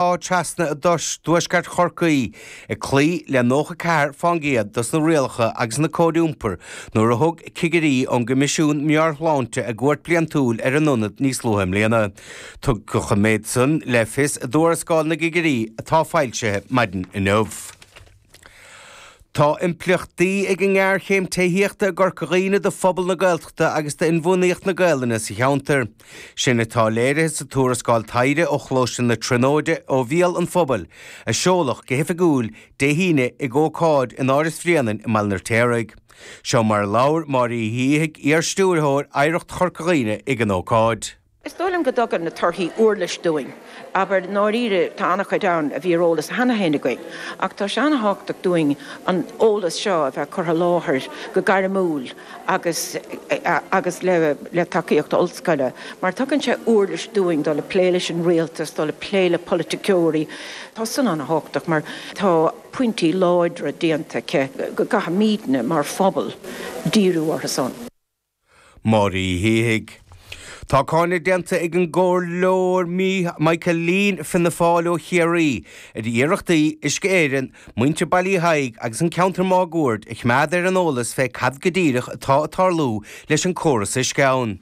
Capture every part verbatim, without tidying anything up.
Trasna i dtuaisceart Chorcaí ag cloí le nócha ceathair faoin gcéad dos na rialacha agus na cóid iompair nuair a thug cigirí ón gCoimisiún Meabhair-Shláinte a gcuairt bliantúil ar an ionad níos luaithe i mbliana. Tugadh an méid san le fios i dtuarascáil na gcigirí atá foilsithe maidin inniu. Tá impleachtaí ag an ngéarchéim tithíochta i gCorca Dhuibhne do phobal na Gaeltachta agus d'inbhuanaitheacht na Gaelainne sa cheantar. Sin atá léirithe sa tuarascáil taighde ó Choláiste na Tríonóide ó Bhéal an Phobail, a seoladh go hoifigiúil Dé hAoine ag ócáid in Áras Bhréanainn i mBaile an Fheirtéaraigh. Seo mar a labhair Máire Uí Shíthigh, iar-stiúrthóir Oidhreacht Chorca Dhuibhne ag an ócáid. Is dóigh liom go dtugann na torthaí uirlis dúinn. Abair ndáiríre tá an-chuid ann a bhí ar eolas cheana féin againn, ach tá sé an-thábhachtach dúinn an eolas seo a bheith curtha i láthair go gairmiúil agus agus le le tacaíocht ollscoile, mar tugann sé uirlis dúinn dul ag plé leis an rialtas, dul ag plé le polaiticeoirí. Tá san an-thábhachtach mar tá pointí láidre déanta aici go gcaithfimidne mar phobal díriú orthu san. Máire Uí Shíthigh. Tá cáineadh déanta ag an gComhairleoir Michael Leen Fianna Fáil ó Chiarraí ar iarrachtaí Uisce Éireann, muintir Baile Uí Thaidhg agus an ceantar máguaird a choimeád ar an eolas fé cad go díreach atá ag tarlú leis an córas uisce ann.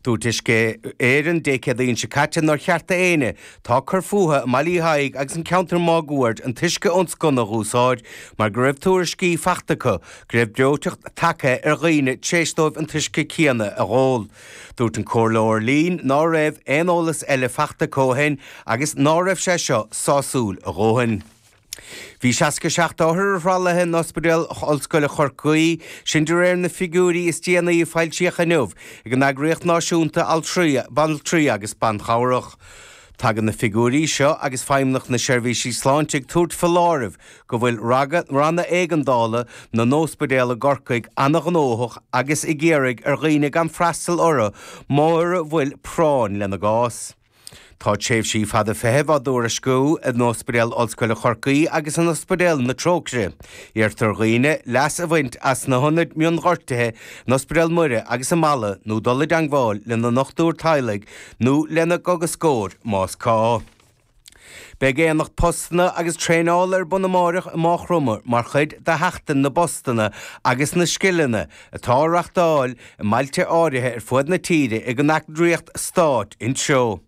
Dúirt Uisce Éireann Dé Céadaoin seo caite nár cheart d'éinne atá ag cur fúthu i mBaile Uí Thaidhg agus an ceantar máguaird an t-uisce ón sconna a dh'úsáid mar go raibh tuairiscí fachta acu go raibh breoiteacht tagtha ar dhaoine tar éis dóibh an t-uisce céanna a dh'ól. Dúirt an Comhairleoir Leen ná raibh aon eolas eile fachta acu ó shin agus ná raibh sé seo sásúil a dhóthain. Bhí seasca seacht othar ar thralaithe in Ospidéal Ollscoile Chorcaí, sin de réir na figiúirí is déanaí a foilsíodh inniu ag an eagraíocht náisiúnta altraí, banaltraí agus banchabhrach. Tagann na figiúirí seo agus Feidhmeannacht na Seirbhísí Sláinte ag tabhairt foláireamh go bhfuil ranna éigeandála na n-ospidéal i gCorcaigh an-ghnóthach agus ag iarraidh ar dhaoine gan freastal orthu mura bhfuil práinn lena gcás. Tá tréimhsí fada feithimh á dtuairisciú in Ospidéal Ollscoile Chorcaí agus in Ospidéal na Trócaire. Iarrtar ar dhaoine leas a bhaint as na hionaid mionghortuithe in Ospidéal Muire agus i Mala nó dul i dteangmháil lena ndochtúir teaghlaigh nó lena gcógascóir más gá. Beidh aonach postanna agus traenála ar bun amáireach i Maigh Chromtha mar chuid de Sheachtain na bPostanna agus na Scileanna atá á reachtáil i mbailte áirithe ar fud na tíre ag an eagraíocht stáit Intreo.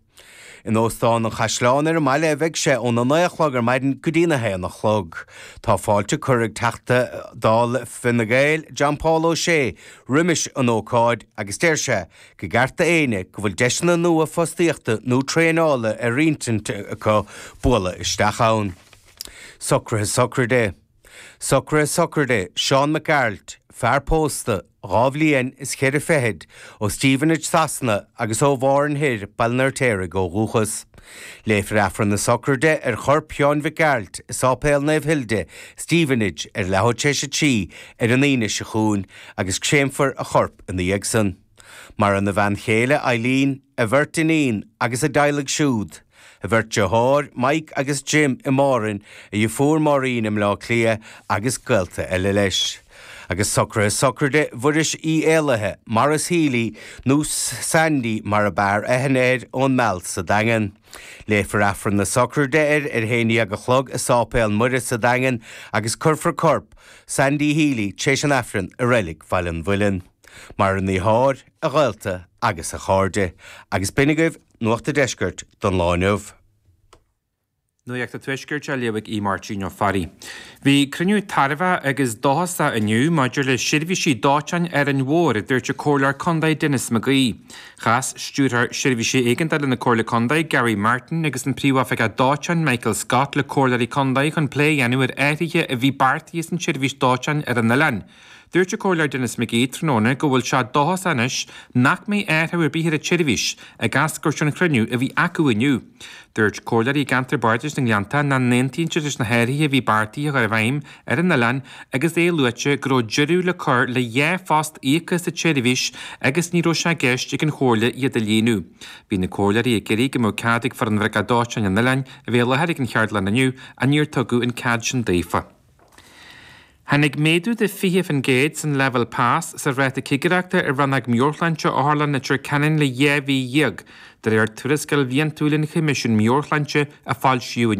In Óstán an Chaisleáin ar an mbaile a bheidh sé óna naoi a chlog ar maidin go dtína haon a chlog. Tá fáilte curtha ag Teachta Dála Fine Gael, John Paul O'Shea, roimis an ócáid agus deir sé go gceart d'éinne go bhfuil deiseanna nua fostaíochta nó traenála ar intinn acu bualadh isteach ann. Socruithe sochraide. Socruithe sochraide Seán Mac Gearailt, fear pósta, dhá bhliain is ceithre fichid, ó Stevenage Sasana agus ó Mhárn Thoir, Baile an Fheirtéaraigh ó dhúchas. Léifear Aifreann na sochraide ar chorp Sheáin Mhic Gearailt i Sáipéal Naomh Hilde, Stevenage ar leathuair tar éis a trí ar an Aoine seo chugainn agus créamfar a chorp ina dhiaidh san. Maireann a bhean chéile, Eileen, a bheirt iníon agus a dteaghlaigh siúd. A bheirt deartháir, Mike agus Jim i Márainn, a dheirfiúr Máirín i mBleá Cliath agus gaolta eile leis. Agus socruithe sochraide Mhuiris Uí Éalaithe, Maurice Healy nó Sandy mar ab fhearr aithne air ón Meal sa Daingean. Léifear Aifreann na sochraide air ar haon dhéag a chlog i Sáipéal Muire sa Daingean agus cuirfear corp Sandy Healy tar éis an Aifrinn i Reilig Bhaile an Mhuilinn. Maireann a dheartháir, a ghaolta agus a chairde. Agus b'in agaibh Nuacht an Deiscirt don lá inniu. Nuacht an Tuaiscirt á léamh ag Aodh Máirtín Ó Fearraigh. Bhí cruinniú tairbheach agus dóchasach inniu maidir le seirbhísí dóiteáin Árainn Mhór, a dúirt an Comhairleoir Contae Denis McGee. Chas Stiúrthóir Seirbhísí Éigeandála na Comhairle Contae Gary Martin agus an Príomhoifigeach Dóiteáin Michael Scott le comhairleoirí contae chun plé a dhéanamh ar athruithe a bhí beartaithe san tseirbhís dóiteáin ar an oileán. Dúirt an Comhairleoir Denis McGee tráthnóna go bhfuil sé dóchasach anois nach mbeidh athrú ar bith ar an tseirbhís, ag eascairt ón chruinniú a bhí acu inniu. Dúirt comhairleoirí i gceantar Bardais na nGleannta nach n-aontaíonn siad leis na hathruithe a bhí beartaithe a chur i bhfeidhm ar an oileán agus é luaite go raibh deireadh le cur le dhá phost íoctha sa tseirbhís agus ní raibh sé i gceist ag an Chomhairle iad a líonadh. Bhí na comhairleoirí ag iarraidh go mbeadh cead ag foireann bhriocach dóiteáin an oileáin a bheith i láthair ag an cheardlann inniu ach níor tugadh an cead sin daofa. Tháinig méadú de fiche faoin gcéad san leibhéal pas sa ráta cigireachta i rannóg meabhairshláinte Otharlann Leitir Ceanainn le dhá mhí dhéag, de réir tuarascáil bhliantúil an Choimisiúin Meabhair-Shláinte a foilsíodh inniu.